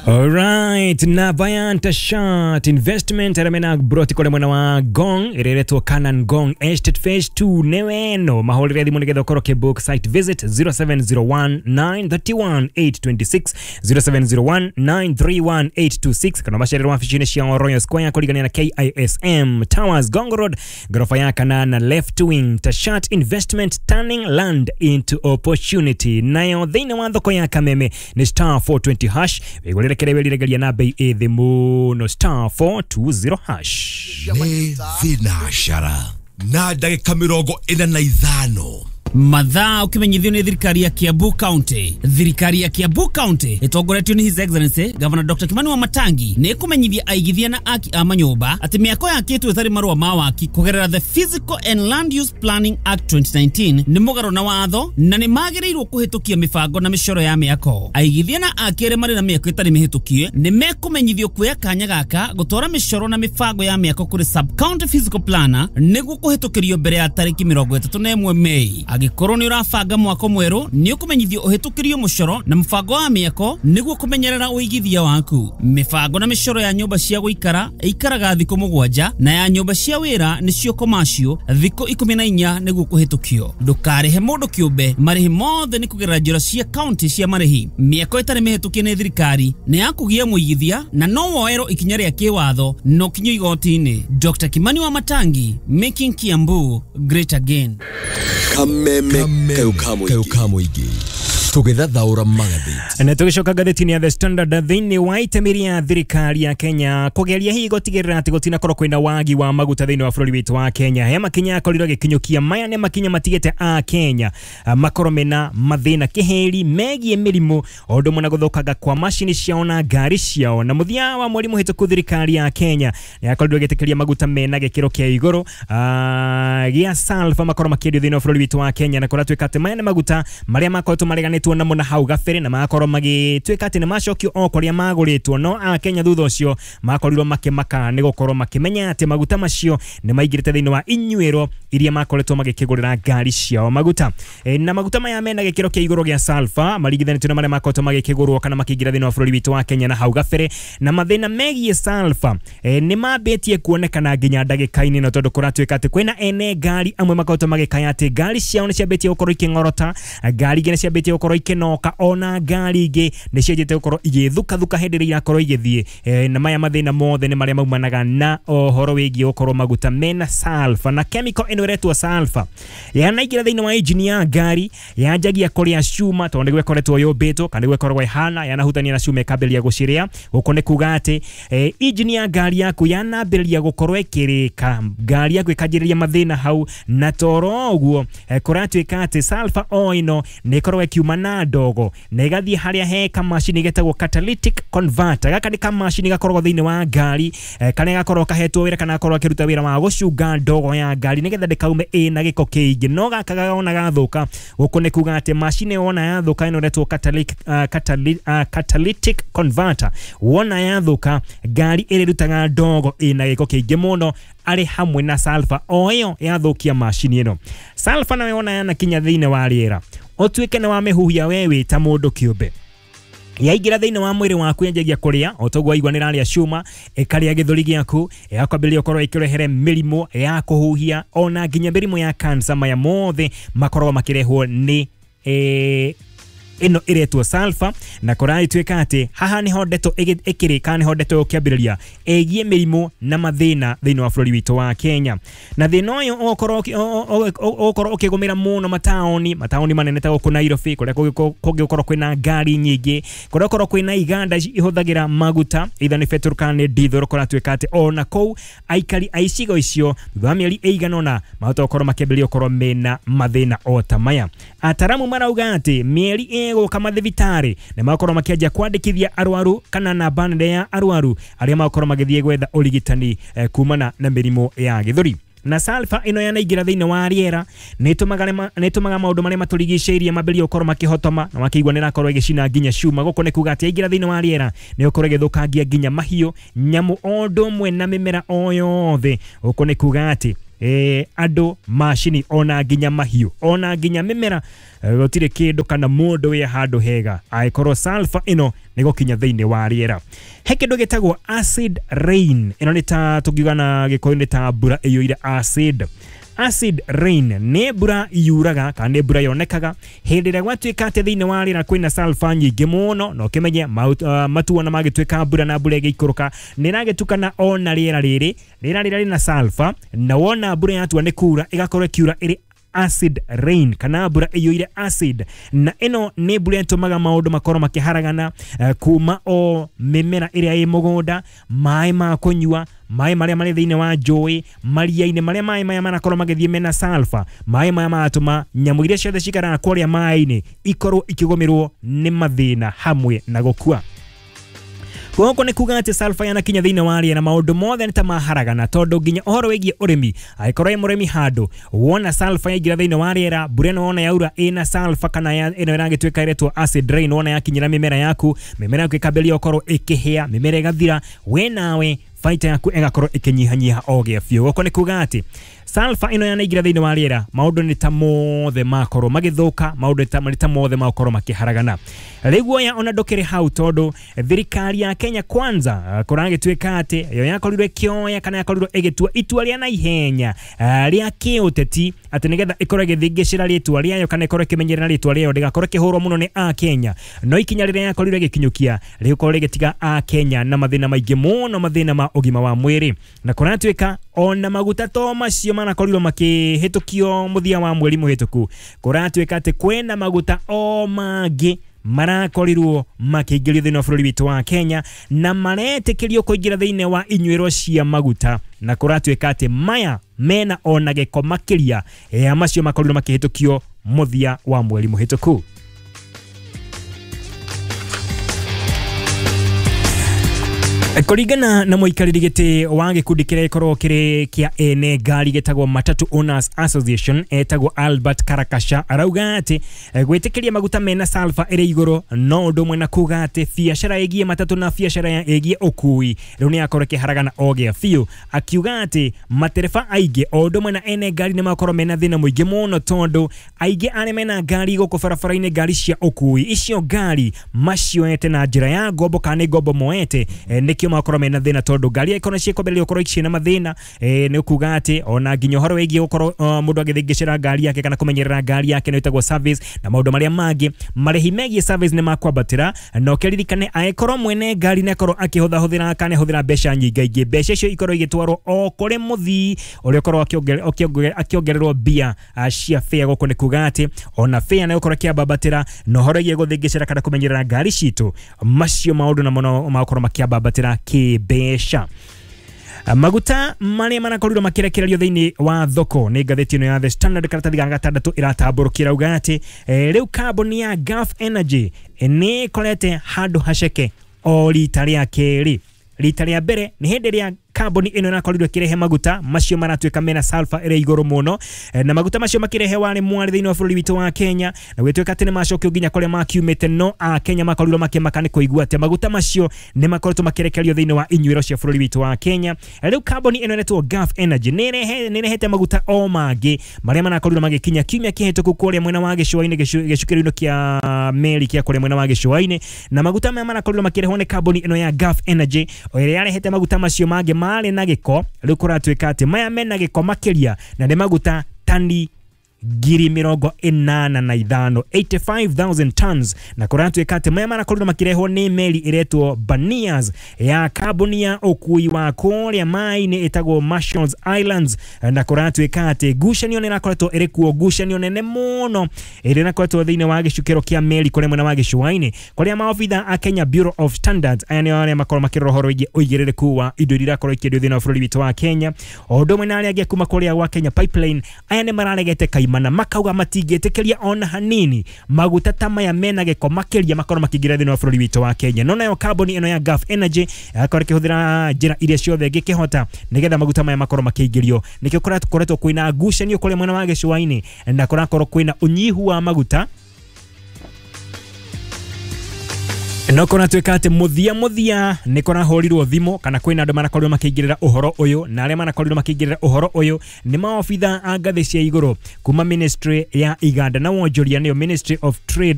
Alright, na Viant Shat Investment aramena broti kore mwena wa Gong ireretwo Canan Gong Estate Phase 2 neweno mahũrĩre thimũ nĩgetha ũkorwo ũkĩbook site visit 0701 931 826 0701 931 826 kana macererwo wabici-inĩ cia Royal Square kũringania na KISM Towers Gong Road gorofa ya kanana left wing. Tashat Investment, turning land into opportunity. Nayo thĩinĩ wa thoko ya Kameme nĩ star 420 hash wĩgũrĩre kĩrĩa wĩriragĩria na bei ĩ thĩ mũno star 420 hash. Nĩ thinacara na ndagĩka 45. Mathaa ukimenyithio nĩ thirikari ya Kiambu County. Thirikari ya Kiambu County ĩtongoretio nĩ His Excellency Governor Dr. Kimani Wamatangi nĩ ĩkũmenyithia aigithia na aki a manyũmba atĩ mĩako yakĩtwo ĩtarĩ marũa ma waki kũgerera The Physical and Land Use Planning Act 2019 nĩ mũgarũ na watho na nĩ magĩrĩirwo kũhĩtũkia mĩbango na mĩcoro ya mĩako. Aigithia na aki arĩa marĩ na mĩako ĩtarĩ mĩhĩtũkie nĩ mekũmenyithio kuoya kanya gaka gũtwara mĩcoro na mĩbango ya mĩako kũrĩ sub county physical planner nĩguo kũhĩtũkĩrio mbere ya tarĩki 31 Mei. Angĩkorwo nĩ ũrabanga mwako mwerũ nĩ ũkũmenyithio ũhĩtũkĩrio mũcoro na mũbango wa mĩako nĩguo kũmenyerera ũigithia waku. Mĩbango na mĩcoro ya nyũmba cia gũikara ĩikaraga thikũ 7 na ya nyũmba cia wĩra nĩcio commercial thikũ 14 nĩguo kũhĩtũkio. Ndũkarĩhe mũndũ kĩũmbe, marĩhi mothe nĩ kũgerera njĩra cia county cia marĩhi. Mĩako ĩtarĩ mĩhĩtũkie nĩ thirikari nĩ ya kũgia mũigithia na no woerwo ikinya rĩa kĩwatho na ũkinyio igoti-inĩ. Dr. Kimani Wamatangi, making Kiambu great again. Kameme kayo kamuigi tũgĩthathaũra magathĩti. Na tũgĩcoka ngathĩti-inĩ ya The Standard thĩinĩ wa itemi rĩa thirikari ya Kenya kũgeria hihi gũtigĩrĩra atĩ gũtinakorwo kwĩna wagi wa maguta thĩinĩ wa bũrũri witũ wa Kenya. He makinya akorirwo agĩkinyũkia maya nĩ makinya matigĩte a Kenya makorwo mena mathĩna kĩhĩri megiĩ mĩrimũ o ũndũ ũmwe na gũthũkanga kwa macini ciao na ngari ciao. Na mũthia wa mweri mũhĩtũku thirikari ya Kenya nĩ yakorirwo ĩgĩtĩkĩria maguta mena gĩkĩro kĩa igũrũ gĩa sulfur makorwo makĩendio thĩinĩ wa bũrũri witũ wa Kenya, na kũratuĩka atĩ maya nĩ maguta marĩa makoretwo mareganĩtwo namo na hau gabere na magakorwo magĩtuĩka atĩ nĩ macokio o kũrĩa magũrĩtwo, no a Kenya thutha ũcio makorirwo makĩmaka nĩ gũkorwo makĩmenya atĩ maguta macio nĩ maingĩrĩte thĩinĩ wa inyuĩro iria makoretwo magĩkĩgũrĩra ngari ciao maguta. Na maguta maya mena gĩkĩro kĩa igũrũ gĩa sulfur maringithanĩtio na marĩa makoretwo magĩkĩgũrwo kana makĩingĩra thĩinĩ wa bũrũri witũ wa Kenya na hau gabere, na mathĩna megiĩ sulfur nĩ mambĩtie kuonekana nginya ndagĩka-inĩ ĩno, tondũ kũratuĩka atĩ kwĩna ene ngari amwe makoretwo magĩkaya atĩ ngari ciao nĩ ciambĩtie gũkorwo ikĩng'orota, ngari ingĩ nĩ ciambĩtie gũkorwo ikĩnoka, ona ngari ingĩ nĩ cianjĩte gũkorwo igĩthukathuka hĩndĩ ĩrĩa irakorwo igĩthiĩ. Na maya mathĩna mothe nĩ marĩa maumanaga na ũhoro wĩgiĩ gũkorwo maguta mena sulfur, na chemical ĩno ĩretwo sulfur yanaingĩra thĩinĩ wa engine ya ngari yanjagia kũrĩa cuma, tondũ nĩguo ĩkoretwo yũmbĩtwo kana nĩguo ĩkoragwo ĩhana, yanahutania na cuma ĩkambĩrĩria gũcirĩa. Gũkũ nĩ kuga atĩ engine ya ngari yaku yanambĩrĩria gũkorwo ĩkĩrĩka, ngari yaku ĩkanjĩrĩria mathĩna hau, na toro ũguo kũratuĩka atĩ sulfur o ĩno nĩ ĩkoragwo ĩkiuma na ndogo na ĩgathiĩ harĩa he kamacini getagwo catalytic converter. Gaka nĩ kamacini gakoragwo thĩinĩ wa ngari karĩa gakoragwo kahetwo wĩra kana gakoragwo akĩruta wĩra wa gũcunga ndogo ya ngari nĩgetha ndĩkaume ĩna gĩko kĩingĩ, no gaka gona gathũka, gũkũ nĩ kuga atĩ macini wona yathũka ĩno ĩretwo catalytic converter, wona yathũka ngari ĩrĩrutaga ndogo ĩna gĩko kĩingĩ mũno arĩ hamwe na sulfur o ĩyo yathũkia macini ĩno. Sulfur nayo wona yanakinya thĩinĩ wa rĩera ũtuĩke nĩ wamĩhuhia we wĩ ta mũndũ kĩũmbe, yaingĩra thĩinĩ wa mwĩrĩ waku yanjagia kũrĩa o toguo waigua nĩ ĩrarĩa cuma, ĩkarĩa gĩthũri gĩaku, ĩgakwambĩrĩria gũkorwo ĩkĩrehere mĩrimũ ya kũhuhia ona nginya mĩrimũ ya cancer. Maya mothe makoragwo makĩrehwo nĩ ĩno ĩretwo sulfur, na kũragĩtuĩka atĩ haha nĩho ndeto ĩkĩrĩka, nĩho ndeto ĩkĩambĩrĩria ĩgiĩ mĩrimũ na mathĩna thĩinĩ wa bũrũri witũ wa Kenya. Na thĩna ũyũ ũgũkorwo ũkĩgũmĩra mũno mataũni manene ta gũkũ Nairobi, kũrĩa kũngĩgũkorwo kwĩna ngari nyingĩ, kũrĩa gũkorwo kwĩna iganda ihũthagĩra maguta either nĩ petrol kana nĩ diesel. Kũratuĩka atĩ ona kũu aikari a icigo icio thutha wa mĩeri ĩigana ũna mahota gũkorwo makĩambĩrĩria gũkorwo mena mathĩna o ta maya. Ataramu marauga atĩ mĩeri ĩgũka mathibitarĩ nĩ makorwo makĩanjia kwandĩkithia arwaru kana namba nene ya arwaru arĩa makorwo magĩthiĩ gwetha ũrigitani kumana na mĩrimũ ya gĩthũri. Na sulfur ĩno yanaingĩra thĩinĩ wa rĩera nĩ ĩtũmaga maũndũ marĩa matũrigicĩirie mambĩrĩrie gũkorwo makĩhotoma na makĩigua nĩ ĩrakorwo ĩgĩcina nginya cuma. Gũkũ nĩ kuga atĩ yaingĩra thĩinĩ wa rĩera nĩ ĩgũkorwo ĩgĩthũkangia nginya mahiũ, nyamũ o ũndũ ũmwe na mĩmera o yothe. Gũkũ nĩ kuga atĩ Andũ macini ona nginya mahiũ ona nginya mĩmera gũtirĩ kĩndũ kana mũndũ wĩ handũ hega angĩkorwo sulfur ĩno nĩ gũkinya thĩinĩ wa rĩera. He kĩndũ gĩtagwo acid rain, ĩno nĩ ta tũngiuga na Gĩkũyũ nĩ ta mbura ĩiyũire acid. Acid rain nĩ mbura yuraga kana nĩ mbura yonekaga hĩndĩ ĩrĩa gwatuĩka atĩ thĩinĩ wa rĩera kwĩna sulfur nyingĩ mũno, na ũkĩmenye matu ona magĩtuĩka mbura na mbura ĩgĩikũrũka nĩ ĩragĩtukana ona rĩera rĩrĩ, rĩera rĩrĩa rĩna sulfur, na wona mbura yatua nĩ kura ĩgakorwo ĩkiura ĩrĩ acid rain kana mbura ĩiyũire acid, na ĩno nĩ mbura ĩtũmaga maũndũ makorwo makĩharagana kuma o mĩmera ĩrĩa ĩ mũgũnda, maĩ ma kũnyua, maĩ marĩa marĩ thĩinĩ wa njũĩ, maria-inĩ marĩa maĩ maya marakorwo magĩthiĩ mena sulfur, maĩ maya maratũma nyamũ iria ciothe cikaraga kũrĩa maĩ-inĩ ikorwo ikĩgũmĩrwo nĩ mathĩna hamwe na gũkua. Gũkũ nĩ kuga atĩ sulfur yanakinya thĩinĩ wa rĩera maũndũ mothe nĩ ta maharagana, tondũ nginya ũhoro wĩgiĩ ũrĩmi, angĩkorwo wĩ mũrĩmi handũ wona sulfur yaingĩra thĩinĩ wa rĩera, mbura ĩno wona yaura ĩna sulfur kana ĩno ĩragĩtuĩka ĩretwo acid rain, wona yakinyĩra mĩmera yaku, mĩmera yaku ĩkambĩrĩria gũkorwo ĩkĩhĩa, mĩmera ĩgathira, we nawe baita yaku ĩgakorwo ĩkĩnyihanyiha o gĩa biũ. Gũkũ nĩ kuga atĩ sulfur ĩno yanaingĩra thĩinĩ wa rĩera maũndũ nĩ ta mothe makorwo magĩthũka, maũndũ nĩ ta mothe makorwo makĩharagana. Rĩu guoya ona ndũkĩrĩ hau, tondũ thirikari ya Kenya Kwanza kũragĩtuĩka atĩ yo yakorirwo ĩkĩoya kana yakorirwo ĩgĩtua itua rĩa naihenya rĩa kĩũteti atĩ nĩgetha ĩkorwo ĩgĩthingĩcĩra rĩtwa rĩayo kana ĩkorwo ĩkĩmenyerera rĩtwa rĩayo ndĩgakorwo ĩkĩhũrwo mũno nĩ Akenya, no ikinya rĩrĩa yakorirwo ĩgĩkinyũkia rĩgũkorwo rĩgĩtiga Akenya na mathĩna maingĩ mũno, mathĩna ma ũgima wa mwĩrĩ, na kũratuĩka ona maguta to macio marakorirwo makĩhĩtũkio mũthia wa mweri mũhĩtũku, kũratuĩka atĩ kwĩna maguta o mangĩ marakorirwo makĩingĩrio thĩinĩ wa bũrũri witũ wa Kenya na maretĩkĩrio kũingĩra thĩinĩ wa inyuĩro cia maguta, na kũratuĩka atĩ maya mena ona gĩko makĩria ya macio makorirwo makĩhĩtũkio mũthia wa mweri mũhĩtũku. Kũringana na mũikarĩri gĩtĩ wa gĩkundi kĩrĩa gĩkoragwo kĩrĩ kĩa ene ngari gĩtagwo Matatu Owners Association etagwo Albert Karakasha, arauga atĩ gwĩtĩkĩria maguta mena sulfur ĩrĩ igũrũ no ũndũ ũmwe na kuga atĩ biacara ĩgiĩ matatũ na biacara ĩgiĩ ũkui rĩu nĩ yakorwo ĩkĩharagana o gĩa biũ, akiuga atĩ matereba aingĩ o ũndũ ũmwe na ene ngari nĩ makorwo mena thĩna mũingĩ mũno, tondũ aingĩ arĩa mena ngari gũkũ barabara-inĩ, ngari cia ũkui icio ngari macioete na njĩra ya ngombo kana nĩ ngombo moete, nĩkĩo makorwo mena thĩna, tondũ ngari ĩkorwo ciĩkwambĩrĩria gũkorwo ciĩna mathĩna nĩ kuga atĩ ona nginya ũhoro wĩgiĩ gũkorwo mũndũ agĩthingĩcĩra ngari yake kana kũmenyerera ngari yake nĩ ĩtagwo service na maũndũ marĩa mangĩ, marĩhi megiĩ service nĩ makwambatĩra, na ũkĩririkane angĩkorwo mwene ngari nĩ akorwo akĩhũthahũthĩra kana ahũthĩra mbeca nyingaingĩ, mbeca icio ikorwo igĩtwarwo o kũrĩ mũthii ũrĩa ũkorwo akĩongererwo mbia cia fare. Gũkũ nĩ kuga atĩ ona fare nĩ gũkorwo ĩkĩambatĩra, na ũhoro wĩgiĩ gũthingĩcĩra kana kũmenyerera ngari citũ, macio maũndũ namo no makorwo makĩambatĩra kĩmbeca. Maguta marĩa marakorirwo makĩrekererio thĩinĩ wa thoko nĩ ngathĩti ĩno ya The Standard karatathi ga gatandatũ ĩratambũrũkĩra uga atĩ rĩu kambuni ya Gulf Energy nĩ ĩkorete handũ haceke o rita rĩa kerĩ. Rita rĩa mbere nĩ hĩndĩ ĩrĩa kambuni ĩno ĩrakorirwo ĩkĩrehe maguta macio maratuĩka mena sulfur ĩrĩ igũrũ mũno, na maguta macio makĩrehe warĩ mwarĩ thĩinĩ wa bũrũri witũ wa Kenya, na gwĩtuĩka atĩ nĩ macokio nginya kũrĩa makiumĩte, no Akenya makorirwo makĩmaka nĩ kũigua atĩ maguta macio nĩ makoretwo makĩrekererio thĩinĩ wa inyuĩro cia bũrũri witũ wa Kenya. Rĩu kambuni ĩno ĩretwo Gulf Energy nĩ ĩrehete maguta o mangĩ marĩa marakorirwo magĩkinya kiumia kĩhĩtũku kũrĩa mwena wa gĩcũa-inĩ, gĩcukĩro-inĩ kĩa meri kĩa kũrĩa mwena wa gĩcũa-inĩ, na maguta maya marakorirwo makĩrehwo nĩ kambuni ĩno ya Gulf Energy ĩrĩa yarehete maguta macio mangĩ marĩ na gĩko. Rĩu kũratuĩka atĩ maya mena gĩko makĩria na nĩ maguta tani 85,000 85,000 tons, na kũratuĩka atĩ maya marakorirwo makĩrehwo nĩ meri ĩretwo Banias ya kambuni ya ũkui wa kũrĩa maĩ-inĩ ĩtagwo Marshalls Islands, na kũratuĩka atĩ ngucanio nĩ ĩrakoretwo ĩrĩ kuo, ngucanio nene mũno ĩrĩa ĩrakoretwo thĩinĩ wa gĩcukĩro kĩa meri kũrĩa mwena wa gĩcũa-inĩ, kũrĩa maobitha a Kenya Bureau of Standards aya nĩo arĩa makorwo makĩrora ũhoro wĩgiĩ ũigĩrĩrĩku wa indo iria irakorwo ikĩendio thĩinĩ wa bũrũri witũ wa Kenya, o ũndũ ũmwe na arĩa angĩ kuma kũrĩa gwa Kenya Pipeline, aya nĩ mararegete kaimana makauga matingĩtĩkĩria ona hanini maguta ta maya mena gĩko makĩria makorwo makĩingĩra thĩinĩ wa bũrũri witũ wa Kenya. No nayo kambuni ĩno ya Gulf Energy ĩgakorwo ĩkĩhũthĩra njĩra iria ciothe ĩngĩkĩhota nĩgetha maguta maya makorwo makĩingĩrio. Nĩkĩo kũrakoretwo kwĩna ngucanio kũrĩa mwena wa gĩcũa-inĩ, na kũrakorwo kwĩna ũnyihu wa maguta. No kũratuĩka atĩ mũthia mũthia nĩ kũrahũrirwo thimũ kana kwĩna andũ marakorirwo makĩingĩrĩra ũhoro ũyũ, na arĩa marakorirwo makĩingĩrĩra ũhoro ũyũ nĩ maobitha a ngathĩ cia igũrũ kuma ministry ya iganda na wonjoria, nĩyo Ministry of Trade.